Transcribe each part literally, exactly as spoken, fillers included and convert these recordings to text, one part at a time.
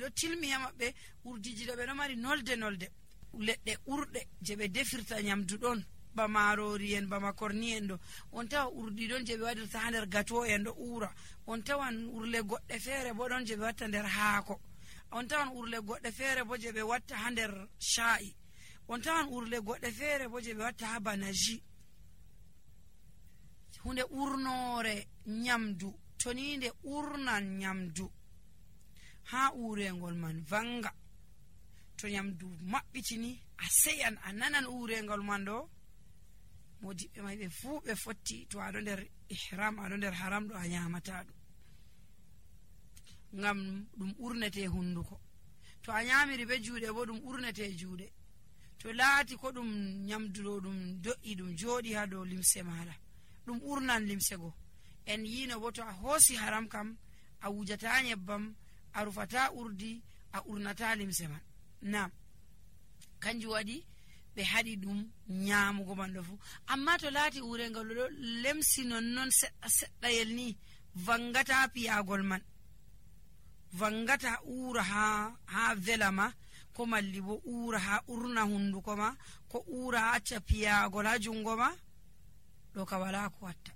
ɗo tilmi ha maɓɓe urdiji ɗo ɓe ɗo mari nolde nolde leɗɗe urɗe je ɓe defirta nyamdu ɗon ba marori en ba makorni en ɗo on tawa urdi ɗon je ɓe waɗirta ha nder gato en ɗo ura on tawan urle goɗɗe feere bo ɗon je ɓe watta nder haako on tawan urle goɗɗe feere bo je ɓe watta ha nder sha'i on tawan urle goɗɗe feere bo je ɓe watta ha banaji hunde urnore nyamdu to ni nde urnan nyamdu ha urengol man vanga to nyamdu maɓɓitini a seyan a nanan urengol man ɗo modiɓɓe may ɓe fuu ɓe fotti to aɗo nder ihram aɗo nder haram ɗo a nyamata ɗum ngam ɗum urnete hunduko to a nyamiri be juuɗe bo ɗum urnete juuɗe to laati ko ɗum nyamdu ɗo ɗum do'i ɗum jooɗi ha dow limse maɗa ɗum urnan limse go en yino bo to a hoosi haram kam a wujata nyebbam a rufata urdi a urnata limse man nam kanjum waɗi ɓe haɗi ɗum nyamugo man ɗo fu amma to laati urengol ɗo lemsi nonnon seɗɗa seɗɗayel ni vangata piyagol man vangata ura ha ha vela ma ko malli bo ura ha urna hunduko ma ko ura ha acca piyagol ha jungo ma ɗo ka wala ko watta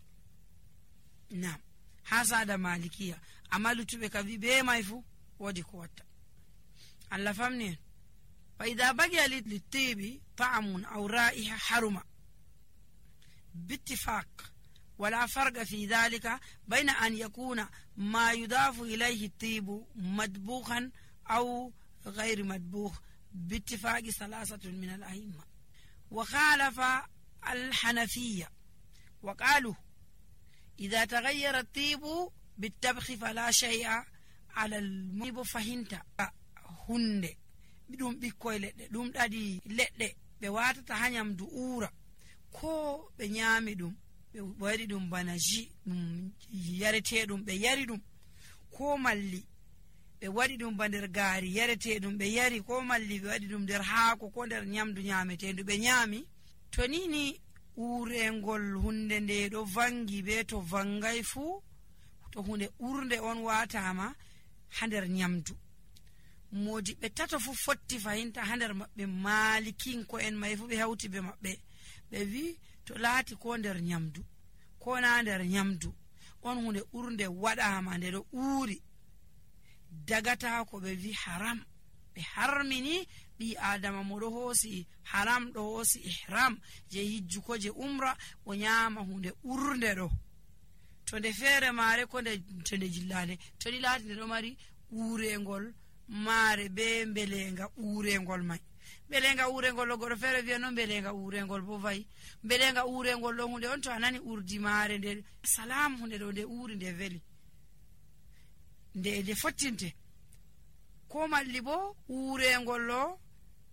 nam ha sada malikiya amma lutuɓe ka wi be may fu wodi ko watta Allah famni en فإذا بقي للطيب طعم أو رائحة حرمة باتفاق ولا فرق في ذلك بين أن يكون ما يضاف إليه الطيب مدبوخا أو غير مدبوخ باتفاق ثلاثة من الأئمة وخالف الحنفية وقالوا إذا تغير الطيب بالطبخ فلا شيء على المطيب فهنت هند ɗum ɓikkoy leɗɗe ɗum ɗaɗi leɗɗe ɓe watata ha nyamdu ura ko ɓe nyami ɗum ɓe waɗi ɗum bana ji ɗum yareteɗum ɓe yari ɗum ko malli ɓe waɗi ɗum ba nder gaari yareteɗum ɓe yari ko malli ɓe waɗi ɗum nder haako ko nder nyamdu nyametedu ɓe nyami to nini urengol hunde nde ɗo vangi be to vangay fuu to hunde urde on watama ha nder nyamdu modi ɓe tato fu fotti fahinta ha nder maɓɓe malikinko en may fu ɓe hawti be maɓɓe ɓe wi to laati ko nder nyamdu ko na nder nyamdu on hunde urde waɗama nde ɗo uuri dagata ko ɓe wi haram ɓe harmini ɓi adama mo ɗo hoosi haram ɗo hoosi ihram je hijjuko je umra o nyama hunde urde ɗo to nde feere maare ko nde to nde jillande to ni laati nde ɗo mari urengol maare be mbelenga urengol may mbelenga urengol ɗo goɗɗo feere wiya no mbelenga urengol bo vayi mbelenga urengol ɗo hunde on to a nani urdi maare nde salam hunde ɗo nde uri nde veli nde nde fottinte ko malli bo urengol ɗo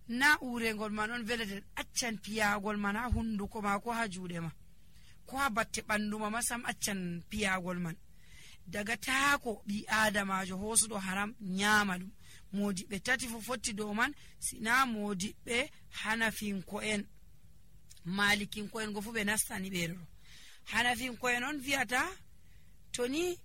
na urengol man on velete accan piyagol man ha hunduko ma ko ha juuɗe ma ko ha batte ɓandu ma masam accan piyagol man daga taako ɓi adamajo hoosuɗo haram nyama ɗum modiɓɓe tati fo fotti dow man sina modiɓɓe hanafinko en malikinko en go fu ɓe nastani ɓeɗo ɗo hanafinko en on viyata to ni